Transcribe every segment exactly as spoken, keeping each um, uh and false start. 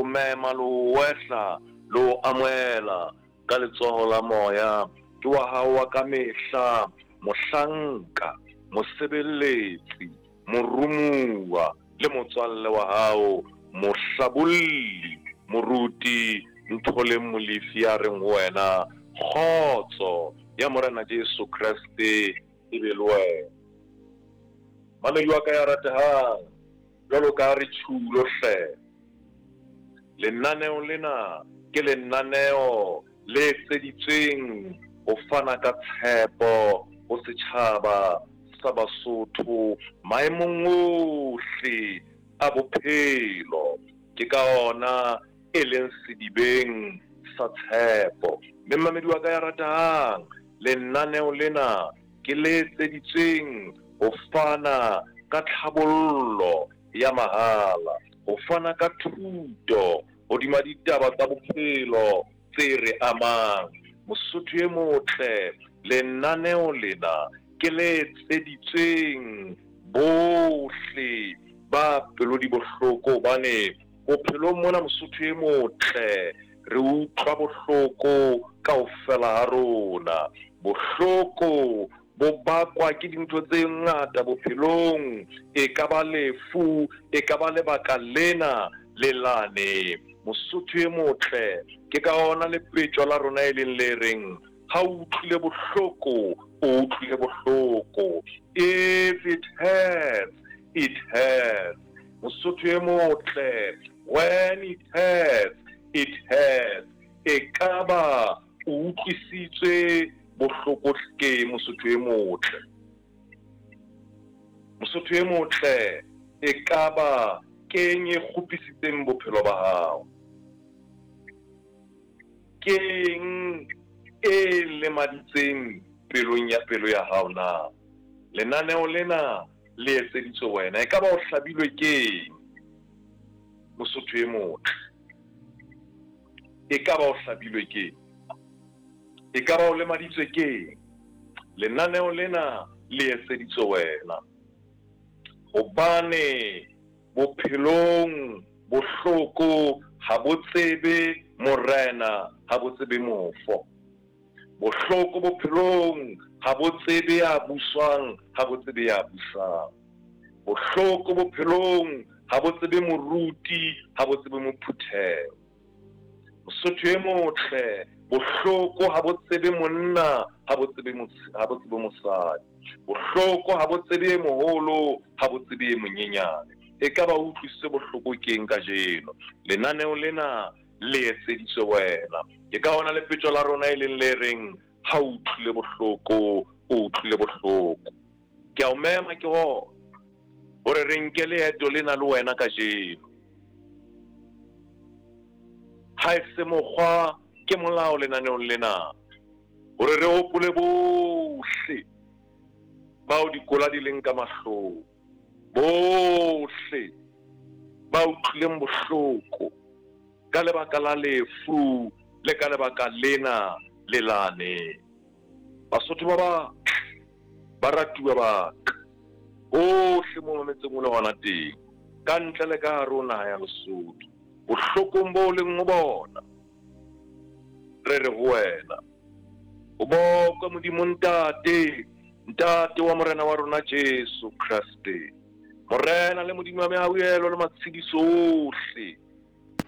mema le ho wehla le ho amohela ka letsoho la moya. Ke wa hao wa ka mehla, mohlanka, mosebeletsi, morumuwa le motswalle wa hao, mohlabolli, moruti Ntholeng Molefi, ya reng ho wena kgotso ya Morena Jesu Kreste e be le wena. Mamedi wa ka ya ratehang, jwalo ka re tjhulo hle, lenaneo lena ke lenaneo le etseditsweng ho fana ka tshepo ho setjhaba sa Basotho maemong ohle a bophelo. Ke ka ona e leng sedibeng sa tshepo. Mme mamedi wa ka ya ratehang, lenaneo lena ke le etseditsweng ho fana ka tlhabollo ya mahala, ho fana ka thuto hodima ditaba tsa bophelo tse re amang. Mosotho e motle, lenaneo lena ke le etseditsweng bohle ba pelo di bohloko, hobane bophelong mona Mosotho e motle re utlwa bohloko kaofela ha rona. Bohloko bo bakwa ke dintho tse ngata bophelong, e ka ba lefu, e ka ba lebaka lena le lane. Mosotho e motle, ke ka ona lepetjo la rona e leng le reng ha o utlwile bohloko, o utlwile bohloko. If it hurts, it hurts. Mosotho e motle, when it hurts, it hurts. E ka ba o utlwisitswe bohloko ke Mosotho e motle. Mosotho e motle, e ka ba keng e kgopisitseng bophelo ba hao? Keng e lemaditseng pelong ya pelo ya hao na? Lenaneo lena le etseditswe wena. E ka ba o hlabilwe keng, Mosotho e motle? E ka ba o hlabilwe keng? E ka ba o lemaditswe keng? Lenaneo lena le etseditswe wena, hobane bophelong bohloko ha bo tsebe morena, ha bo tsebe mofo. Bohloko bophelong ha bo tsebe ya buswang, ha bo tsebe ya busang. Bohloko bophelong ha bo tsebe moruti, ha bo tsebe mophutheho. Mosotho e motle, bohloko ha bo tsebe monna, ha bo tsebe ha bo tsebe mosadi. Bohloko ha bo tsebe moholo, ha bo tsebe monyenyane. E ka ba o utlwisitse bohloko keng kajeno? Lenaneo lena le etseditswe wena. Ke ka ona lepetjo la rona e leng le reng ha o utlwile bohloko, o utlwile bohloko. Ke a o mema ke hona hore re nke leeto lena le wena kajeno. Ha e se mokgwa ke molao lenaneong lena hore re hopole bohle bao dikola di leng ka mahlong, bohle ba utlwileng bohloko ka lebaka la lefu le ka lebaka lena le lane. Basotho ba batle, ba ratuwa ba ka, hohle mo mametseng o le hona teng, ka ntle le ka hare ho naha ya Lesotho, bohlokong bo leng ho bona, re re ho wena, o bokwe Modimo Ntate, Ntate wa Morena wa rona Jesu Kreste, Morena le Modimo wa mehauhelo le matshediso ohle,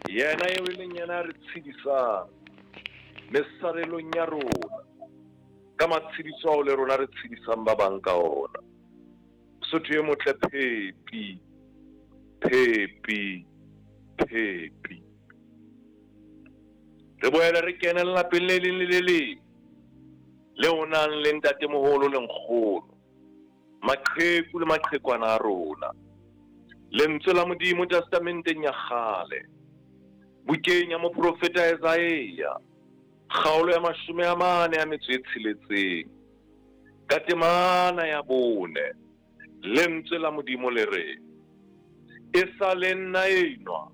yena eo e leng yena a re tshedisang mesarelong ya rona, ka matshediso ao le rona re tshedisang ba bang ka ona. Mosotho e motle, phepi, phepi, phepi. Re boele re kene lelapeng le leng le le leng le o nang le ntatemoholo le nkgono, maqheku le maqhekwana a rona. Lentswe la Modimo testamenteng ya kgale, bukeng ya moprofeta Isaiah, kgaolo ya mashome a mane a metso e tsheletseng, ka temana ya bone, lentswe la Modimo le re, e sa le nna enwa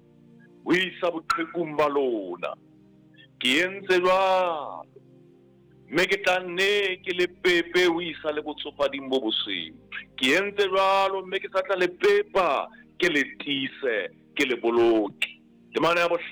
ho isa boqhekung ba lona, ke entse jwalo, mme ke tla nne ke le pepe ho isa le botsofading bo bosweu. Ke entse jwalo, mme ke sa tla le pepa, ke le tiise, ke le boloke. Temana ya bohlano.